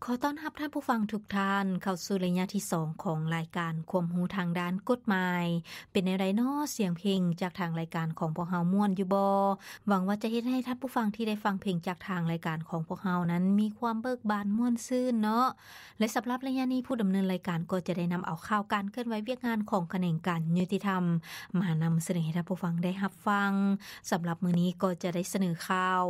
ຂໍຕ້ອນຮັບທ່ານຜູ້ຟັງທຸກທ່ານເຂົ້າສູ່ໄລຍະທີສອງຂອງລາຍການຄວາມຮູ້ທາງດ້ານກົດໝາຍ. ເປັນແນວໃດນໍ ສຽງເພງຈາກທາງລາຍການຂອງພວກເຮົາມ່ວນຢູ່ບໍ່? ຫວັງວ່າຈະເຮັດໃຫ້ທ່ານຜູ້ຟັງທີ່ໄດ້ຟັງເພງຈາກທາງລາຍການຂອງພວກເຮົານັ້ນມີຄວາມເບີກບານມ່ວນຊື່ນເນາະ. ແລະສຳລັບໄລຍະນີ້ ຜູ້ດຳເນີນລາຍການກໍຈະໄດ້ນຳເອົາຂ່າວການເຄື່ອນໄຫວວຽກງານຂອງຂະແໜງການຍຸຕິທຳ ມານຳສະເໜີໃຫ້ທ່ານຜູ້ຟັງໄດ້ຮັບຟັງ. ສຳລັບມື້ນີ້ກໍຈະໄດ້ສະເໜີຂ່າວ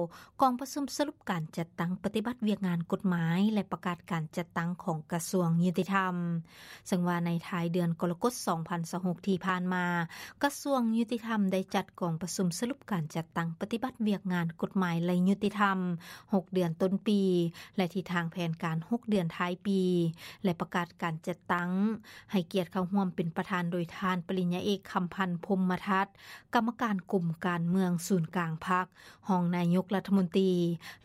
ກອງປະຊຸມສະຫຼຸບການຈັດຕັ້ງປະຕິບັດວຽກງານກົດໝາຍ ແລະ ປະກາດການຈັດຕັ້ງຂອງກະຊວງຍຸຕິທຳ. ເຊິ່ງວ່າໃນທ້າຍເດືອນກໍລະກົດ ສອງພັນຊາວຫົກ ທີ່ຜ່ານມາ, ກະຊວງຍຸຕິທຳໄດ້ຈັດກອງປະຊຸມສະຫຼຸບການຈັດຕັ້ງປະຕິບັດວຽກງານກົດໝາຍ ແລະ ຍຸຕິທຳ ຫົກເດືອນຕົ້ນປີ ແລະ ທິດທາງແຜນການ ຫົກເດືອນທ້າຍປີ ແລະ ປະກາດການຈັດຕັ້ງ. ໃຫ້ກຽດເຂົ້າຮ່ວມເປັນປະທານໂດຍທ່ານປະລິນຍາເອກ ຄຳພັນ ພົມມະທັດ ກຳມະການກົມການເມືອງສູນກາງພັກ, ຮອງນາຍົກລັດຖະມົນຕີ,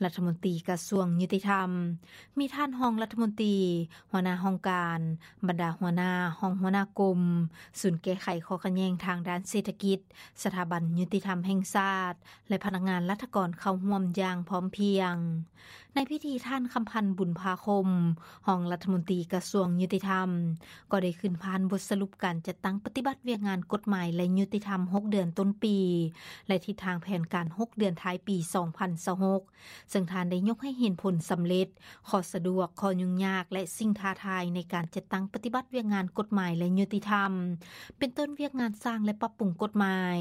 ລັດຖະມົນຕີກະຊວງຍຸຕິທຳ, ມີທ່ານຮອງລັດຖະມົນຕີ, ຫົວໜ້າຫ້ອງການ, ບັນດາຫົວໜ້າ, ຮອງຫົວໜ້າກົມ, ສູນແກ້ໄຂຂໍ້ຂັດແຍ່ງທາງດ້ານເສດຖະກິດ, ສະຖາບັນຍຸຕິທຳແຫ່ງຊາດ ແລະ ພະນັກງານລັດຖະກອນເຂົ້າຮ່ວມຢ່າງພ້ອມພຽງ. ໃນພິທີ ທ່ານ ຄຳພັນ ບຸນພາຄົມ ຮອງລັດຖະມົນຕີກະຊວງຍຸຕິທຳ ກໍໄດ້ຂຶ້ນຜ່ານບົດສະຫຼຸບການຈັດຕັ້ງປະຕິບັດວຽກງານກົດໝາຍ ແລະ ຍຸຕິທຳ ຫົກເດືອນຕົ້ນປີ ແລະ ທິດທາງແຜນການ ຫົກເດືອນທ້າຍປີ ສອງພັນຊາວຫົກ ເຊິ່ງທ່ານໄດ້ຍົກໃຫ້ເຫັນຜົນສຳເລັດ, ຂໍ້ສະດວກ, ຂໍ້ຫຍຸ້ງຍາກ ແລະ ສິ່ງທ້າທາຍໃນການຈັດຕັ້ງປະຕິບັດວຽກງານກົດໝາຍ ແລະ ຍຸຕິທຳ ເປັນຕົ້ນວຽກງານສ້າງ ແລະ ປັບປຸງກົດໝາຍ,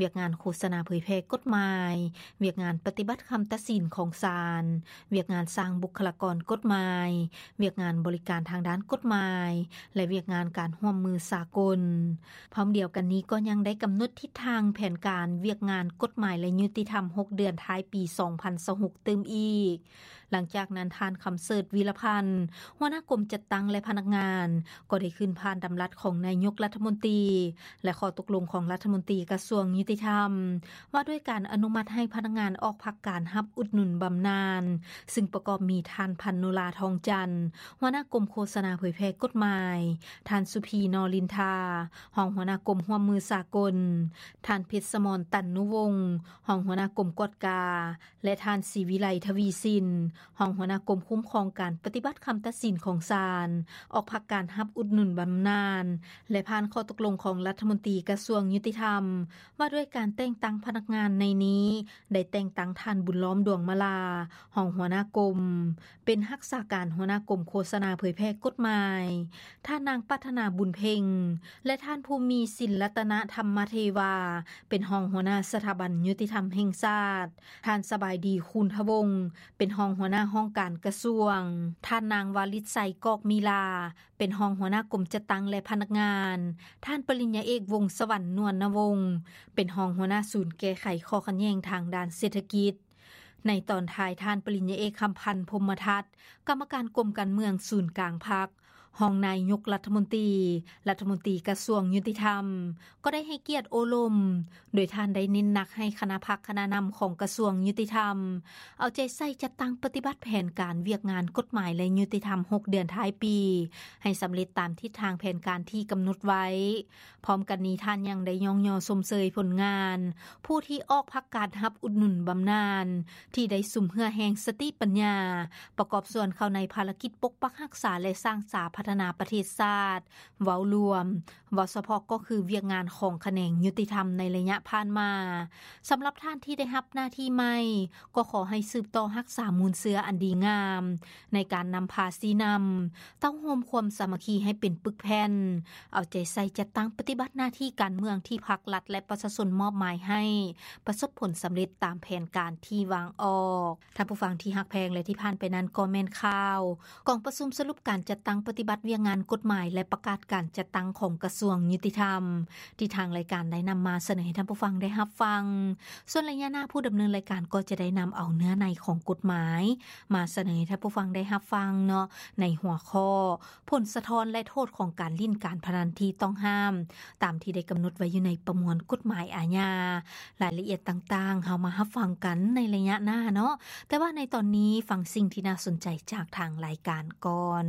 ວຽກງານໂຄສະນາເຜີຍແຜ່ກົດໝາຍ, ວຽກງານປະຕິບັດຄຳຕັດສິນຂອງສານ, ວຽກງານສ້າງບຸກຄະລາກອນກົດໝາຍ, ວຽກງານບໍລິການທາງດ້ານກົດໝາຍ ແລະ ວຽກງານການຮ່ວມມືສາກົນ. ພ້ອມດຽວກັນນີ້ກໍຍັງໄດ້ກຳນົດທິດທາງແຜນການວຽກງານກົດໝາຍ ແລະ ຍຸຕິທຳ ຫົກເດືອນທ້າຍປີ ສອງພັນຊາວຫົກ ຕື່ມອີກ. ຫຼັງຈາກນັ້ນ ທ່ານ ຄຳເສີດ ວິລະພັນ ຫົວໜ້າກົມຈັດຕັ້ງ ແລະ ພະນັກງານ ກໍໄດ້ຂຶ້ນຜ່ານດຳລັດຂອງນາຍົກລັດຖະມົນຕີ ແລະ ຂໍ້ຕົກລົງຂອງລັດຖະມົນຕີກະຊວງຍຸຕິທຳ ວ່າດ້ວຍການອະນຸມັດໃຫ້ພະນັກງານອອກພັກການຮັບອຸດໜູນບຳນານ ຊຶ່ງປະກອບມີທ່ານ ພັນໂນລາ ທອງຈັນ ຫົວໜ້າກົມໂຄສະນາເຜີຍແຜ່ກົດໝາຍ, ທ່ານ ສຸພີ ນໍລິນທາ ຮອງຫົວໜ້າກົມຮ່ວມມືສາກົນ, ທ່ານ ເພັດສະໝອນ ຕັນນຸວົງ ຮອງຫົວໜ້າກົມກວດກາ ແລະ ທ່ານ ສີວິໄລ ທະວີສິນ ຮອງຫົວໜ້າກົມຄຸ້ມຄອງການປະຕິບັດຄຳຕັດສິນຂອງສານ ອອກພັກການຮັບອຸດໜູນບຳນານ ແລະ ຜ່ານຂໍ້ຕົກລົງຂອງລັດຖະມົນຕີກະຊວງຍຸຕິທຳ ວ່າດ້ວຍການແຕ່ງຕັ້ງພະນັກງານໃນນີ້ ໄດ້ແຕ່ງຕັ້ງທ່ານ ບຸນລ້ອມ ດວງມາລາ ຮອງຫົວໜ້າກົມ ເປັນຮັກສາການຫົວໜ້າກົມໂຄສະນາເຜີຍແຜ່ກົດໝາຍ, ທ່ານນາງ ປັດຖະນາ ບຸນເພັງ ແລະ ທ່ານ ພູມີສິນ ລັດຕະນະທຳມະເທວາ ເປັນຮອງຫົວໜ້າສະຖາບັນຍຸຕິທຳແຫ່ງຊາດ, ທ່ານ ສະບາຍດີ ຄູນທະວົງ ເປັນຮອງຫົວໜ້າຫ້ອງການກະຊວງ, ທ່ານນາງ ວາລິດໄຊ ກອກມີລາ ເປັນຮອງຫົວໜ້າກົມຈັດຕັ້ງ ແລະ ພະນັກງານ, ທ່ານ ປະລິນຍາເອກ ວົງສະຫວັນ ນວນນະວົງ ເປັນຮອງຫົວໜ້າສູນແກ້ໄຂຂໍ້ຂັດແຍ່ງທາງດ້ານເສດຖະກິດ. ໃນຕອນທ້າຍ ທ່ານປະລິນຍາເອກ ຄຳພັນ ພົມມະທັດ ກຳມະການກົມການເມືອງສູນກາງພັກ, ຮອງນາຍົກລັດຖະມົນຕີ, ລັດຖະມົນຕີກະຊວງຍຸຕິທຳ ກໍໄດ້ໃຫ້ກຽດໂອ້ລົມ, ໂດຍທ່ານໄດ້ເນັ້ນໜັກໃຫ້ຄະນະພັກຄະນະນຳຂອງກະຊວງຍຸຕິທຳ ເອົາໃຈໃສ່ຈັດຕັ້ງປະຕິບັດແຜນການວຽກງານກົດໝາຍ ແລະ ຍຸຕິທຳ ຫົກເດືອນທ້າຍປີ ໃຫ້ສຳເລັດຕາມທິດທາງແຜນການທີ່ກຳນົດໄວ້. ພ້ອມກັນນີ້ ທ່ານຍັງໄດ້ຍ້ອງຍໍຊົມເຊີຍຜົນງານຜູ້ທີ່ອອກພັກການຮັບອຸດໜູນບຳນານ ທີ່ໄດ້ສຸມເຫື່ອແຮງສະຕິປັນຍາ ປະກອບສ່ວນເຂົ້າໃນພາລະກິດປົກປັກຮັກສາ ແລະ ສ້າງສາພັດທະນາປະເທດຊາດ ເວົ້າລວມ, ເວົ້າສະເພາະກໍຄືວຽກງານຂອງຂະແໜງຍຸຕິທຳໃນໄລຍະຜ່ານມາ. ສຳລັບທ່ານທີ່ໄດ້ຮັບໜ້າທີ່ໃໝ່ ກໍຂໍໃຫ້ສືບຕໍ່ຮັກສາມູນເຊື້ອອັນດີງາມ ໃນການນຳພາຊີ້ນຳ, ເຕົ້າໂຮມຄວາມສາມັກຄີໃຫ້ເປັນປຶກແຜ່ນ, ເອົາໃຈໃສ່ຈັດຕັ້ງປະຕິບັດໜ້າທີ່ການເມືອງທີ່ພັກລັດ ແລະ ປະຊາຊົນມອບໝາຍໃຫ້ ປະສົບຜົນສຳເລັດຕາມແຜນການທີ່ວາງອອກ. ທ່ານຜູ້ຟັງທີ່ຮັກແພງ ແລະ ທີ່ຜ່ານໄປນັ້ນກໍແມ່ນຂ່າວ ກອງປະຊຸມສະຫຼຸບການຈັດຕັ້ງປະຕິບັດວຽກງານກົດໝາຍ ແລະ ປະກາດການຈັດຕັ້ງຂອງກະຊວງຍຸຕິທຳ ທີ່ທາງລາຍການໄດ້ນຳມາສະເໜີໃຫ້ທ່ານຜູ້ຟັງໄດ້ຮັບຟັງ. ສ່ວນໄລຍະໜ້າ ຜູ້ດຳເນີນລາຍການກໍຈະໄດ້ນຳເອົາເນື້ອໃນຂອງກົດໝາຍ ມາສະເໜີໃຫ້ທ່ານຜູ້ຟັງໄດ້ຮັບຟັງເນາະ ໃນຫົວຂໍ້ ຜົນສະທ້ອນ ແລະ ໂທດຂອງການຫຼິ້ນການພະນັນທີ່ຕ້ອງຫ້າມ ຕາມທີ່ໄດ້ກຳນົດໄວ້ຢູ່ໃນປະມວນກົດໝາຍອາຍາ. ລາຍລະອຽດຕ່າງໆ ເຮົາມາຮັບຟັງກັນໃນໄລຍະໜ້າເນາະ, ແຕ່ວ່າໃນຕອນນີ້ຟັງສິ່ງທີ່ໜ້າສົນໃຈຈາກທາງລາຍການກ່ອນ.